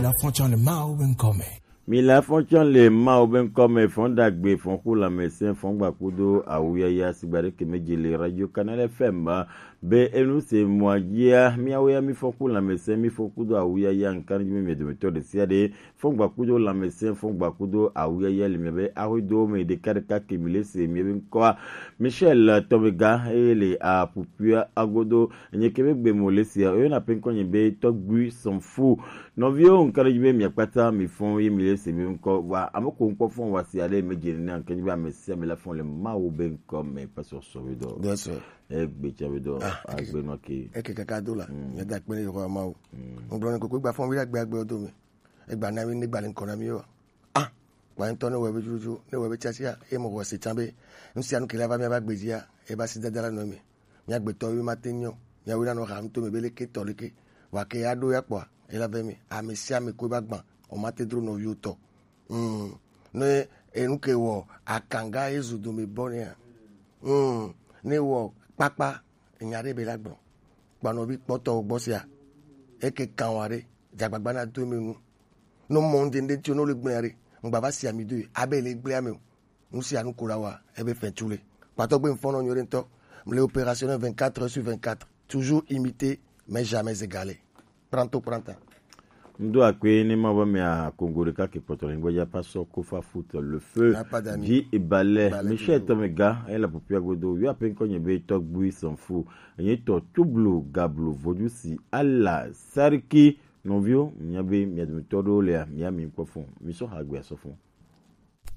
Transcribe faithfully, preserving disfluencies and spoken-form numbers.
La fonction de Mao Benkome. Mi la fonction le Mao Benkome, fond dagbe, fond pour la médecin, fond gbakudo, awuyaya, sigbare kemejele, Radio Canal F M, be enu se moyia, mi awuya mi fond pour la médecin, mi fond kudo, awuyaya, nkani mi mi de méthode siade, fond gbakudo, la médecin, fond gbakudo, awuyaya, le mi be, ahudo, me de kare ka kemile se, mi be nkoa, Michel Tomega, ele a pupua agodo, Enye ke be gbe mo le sia, oyo na pe nko nye be tɔgbui s'en fout. Nɔviwo, nka ɖe dzi be miakpata mi fɔn ye mi le se mi ŋkɔ wa ame ko ŋkɔ fɔn wa si ale me dze ne nka dzi be ame sia ame la fɔn le Mawu be ŋkɔ me, pastor sɔ be dɔ. Yes, sir. Egbe tsa be dɔ. Ah, eke- agbe nɔ ke. Eke kaka do la. Mm. Nye da kpe ne Yehowa Mawu. Mm. Ŋgblɔ ne koko gba fɔn wi agbe agbe do me. Egba na mi ne gba le ŋkɔ na mi wa. Ah, kpa ŋutɔ ne wɔ ebe tututu, ne wɔ ebe tiatia, eye mo wɔ se tsã be nu sia nu ke la va mía va gbe dzia, eba si dada la nɔ eme. Mía gbetɔ ye mate nyɔ, mía wo nanɔ ha nuto me be leke tɔ leke, wa ke ya ɖo ya kpɔa, ela ve mi, ame sia ame ko eba gbã, o mate dro nɔviwo tɔ. Mm, ne enu ke wɔ akanga ye zu dome bɔ nea, mm, ne wɔ kpakpa, enya ɖe be la gblɔ, kpa nɔvi kpɔtɔwo gbɔ sia, eke kan wa ɖe, dzagbagba na do eme nu. No mɔ ŋdende tso no le gblẽ ɖe, ŋgba va si ami do abe le gblẽ ame o. Nu sia nu ko la wa ebe fɛn tu le. Kpatɔ gbe ŋfɔnɔ nyuie ŋtɔ. Le opérationnel vingt-quatre heures sur vingt-quatre. Toujours imité, mais jamais égalé. Pranto pranta. Ŋdo akpe ne ma va mia Congo ɖeka ke kpɔtɔ le gbɔdza pasɔ Kofa Foot le feu. N'a pas d'amis. Di Ibalɛ, Ibalɛ Michel toujours. Tomega, ela popia godo, yo ape ŋkɔ nye be tɔgbui s'en fout. Enye tɔ tublu gablu vodu si ala sariki nɔviwo, mia be mia dometɔ ɖewo lea, mia mi kpɔ fun. Mi sɔ ha gbe asɔ fun.